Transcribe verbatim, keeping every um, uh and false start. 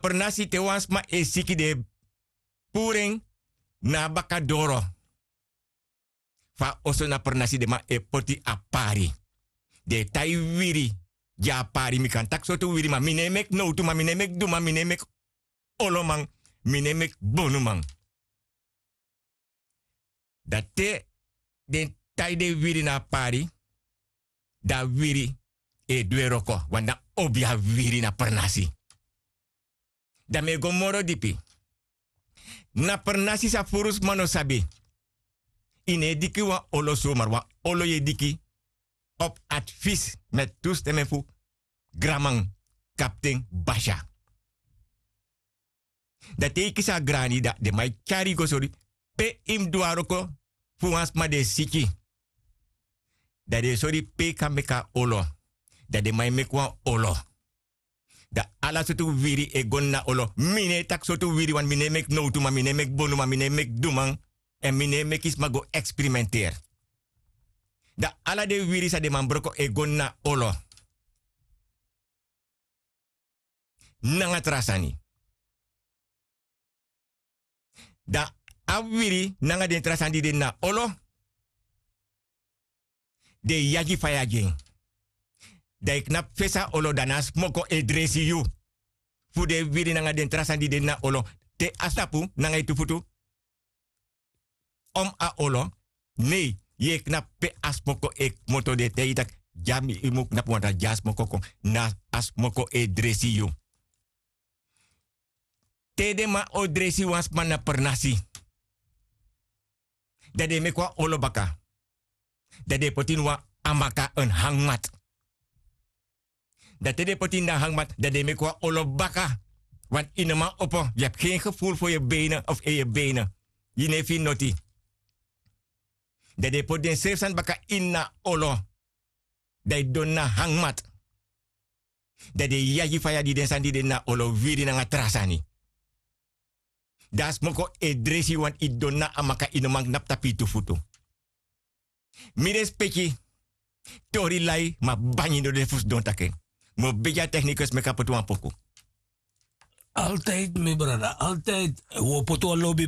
pernasi te wan sma e siki den e puru en na a baka doro. Fu a oso na pernasi den man e poti a pari. Den e tai wiri gi a pari. Mi kan taki sortu wiri ma mi no e meki nowtu ma mi no e meki duman mi no e meki oloman, mi no e meki bonuman. Dan te den tai den wiri na a pari, dan a wiri e du en wroko wani na obi a wiri na pernasi. Dan mi e go moro dipi. Na pernasi san furu sma no sabi. Yu no e diki wan olo somar wan olo yu e diki op advis met tu stemen fu granman kapten basya. Dan te yu kisi a grani dan den man e tyari yu go sori pe yu mus du a wroko fu wan sma di e siki. Dan den e sori pe yu kan meki a olo. Dan den man e meki wan olo. Dan ala sortu wiri e go ini a olo mi no e taki sortu wiri wani mi no e meki nowtu ma mi no e meki bonuman mi no e meki duman. Èn mi no e meki sma go eksperimenteri. Dan ala den wiri san den man broko e go ini a olo nanga tra sani. Dan a wiri nanga den tra sani di de ini a olo den e yagi faya gi en. Dan yu knapu fesi a olo dan na a smoko e dresi yu. Fu den wiri nanga den tra sani di de ini a olo te a stapu nanga yu tu futu om a olo. Nei, yu e knapu pe a smoko e kmoto den e taigi yu taki dya mi yu mu knapu wanta dya a smoko kon. Na a smoko e dresi yu. Te den man o dresi wan sma na pernasi dan den e meki wan olo baka. Dan den e poti ini wan amaka en hangmat. Dan te den e poti ini dan hangmat dan den e meki wan olo baka. Wani yu no man opo yu abi gen geful fu yu beinen of en yu beinen. Yu no e fini noti. Dan den e poti den srefi sani baka ini a olo. Dan yu didon ini a hangmat. Dan den e yagi faya di den sani di de ini a olo wiri nanga tra sani. Dan a smoko e dresi yu wani yu didon ini a amaka yu no man knapu tapu yu tu futu. Mi respeki. Tori lai ma bangi no de fu sidon taki en. Mi o begi a teknikus meki a poti wan poku. Altid mi brada altid. Wi o poti wan lobi.